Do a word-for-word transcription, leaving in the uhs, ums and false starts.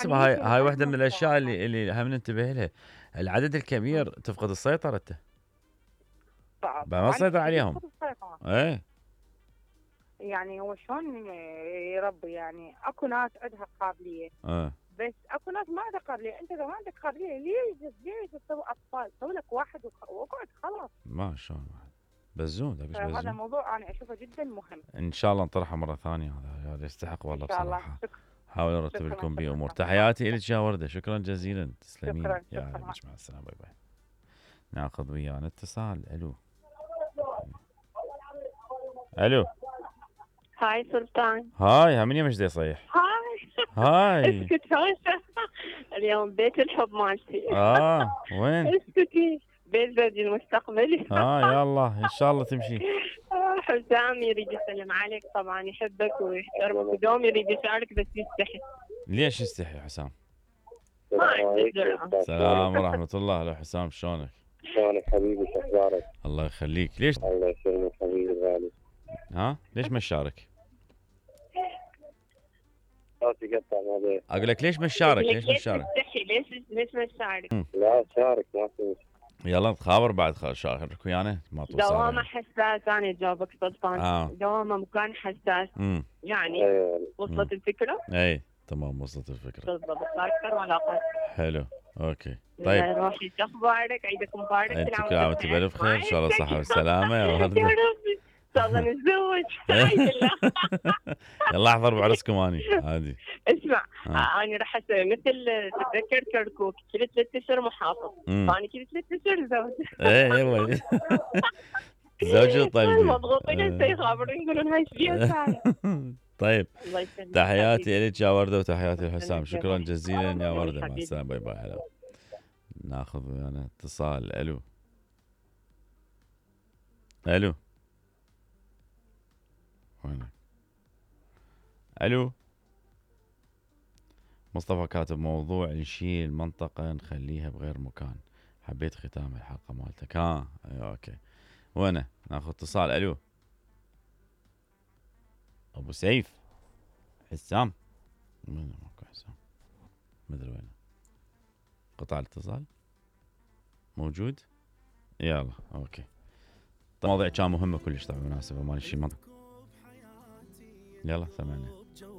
حسب يعني هاي يمكن هاي واحده أهم من الاشياء الصراحة. اللي اللي هم ننتبه لها. العدد الكبير تفقد السيطره انت. ط- ما طبعا تسيطر أكيد عليهم. يفقد السيطرة. ايه. يعني هو شلون يربي؟ يعني اكو ناس عندها قابلية، اه بس اكو ناس ما عندها قابلية. انت اذا ما عندك قابلية ليش ليش تسوي اطفال؟ سوي لك واحد وخ- واقعد خلاص. ما شاء الله. بزون ده بس فهذا بزون. موضوع انا اشوفه جدا مهم. ان شاء الله نطرحه مره ثانيه. هذا هذا يستحق ان والله شاء الله. بصراحه. شكرا. حاول ارتب شكرا لكم شكرا بامور. شكرا تحياتي لك يا ورده، شكرا جزيلا، تسلمين شكرا يا شكرا. عينك. مع السلامه، باي باي. ناخذ ويانا اتصال. الو. الو. هاي سلطان. هاي هم من يمش دي صيح. هاي هاي. اسكت هوسة. اليوم بيت الحب مالتي. اه وين؟ اسكتي. بيت زوجي المستقبلي. اه يلا ان شاء الله تمشي. آه، حسام يريد يسلم عليك، طبعا يحبك ويحترمك ودوم يريد يشارك بس يستحي. ليش يستحي حسام؟ ما عنده جرأة. السلام ورحمة الله. هلا حسام، شلونك؟ شلونك حبيبي؟ شو اخبارك؟ الله يخليك. ليش؟ الله يسلمك حبيبي الغالي. ها؟ ليش ما تشارك؟ صوتي قطع ما بيه. اقول لك ليش ما تشارك؟ ليش ما ليش تشارك؟ تستحي؟ ليش ليش ما تشارك؟ لا شارك ما في مشكلة. يلا نتخابر بعد. خ- شارك ويانا ما توصل. دوامه حساس. انا اجاوبك سلطان. اه دوامه مكان حساس. امم يعني ايوه وصلت الفكره؟ اي تمام، وصلت الفكرة. بالضبط. صار اكثر ولا اقل. حلو اوكي طيب. روحي شو اخبارك؟ عيدك مبارك. انت كل كل عام وانت بالف خير، ان شاء الله صحة والسلامة يا يا وردة. ربي ان شاء الله نتزوج. يلا احضر بعرسكم اني عادي. اسمع آه. انا راح اسوي مثل تتذكر كركوك كل ثلاث اشهر محافظ، مم. فانا كل ثلاث اشهر زوج. ايه ايوه. زوجي طيب. مضغوطين هسه يخابرون يقولون هاي ايش بيها ساعه. طيب الله يسلمك. تحياتي لك يا وردة وتحياتي لحسام. يسلمك يا شكرا روحي. جزيلا يا وردة. مع حبيبي. السلامة، باي باي. هلا. ناخذ ويانا اتصال. الو. الو. وينك؟ الو. مصطفى كاتب موضوع نشيل منطقة نخليها بغير مكان. حبيت ختام الحلقة مالتك. ها ايوه اوكي. وينه؟ ناخذ اتصال. الو. ابو سيف. حسام. وين ماكو حسام؟ مدري وينه. قطع الاتصال. موجود؟ يلا اوكي. المواضيع كان مهمة كلش طبعا، مناسبة مال شي منطق. يلا سمعنا.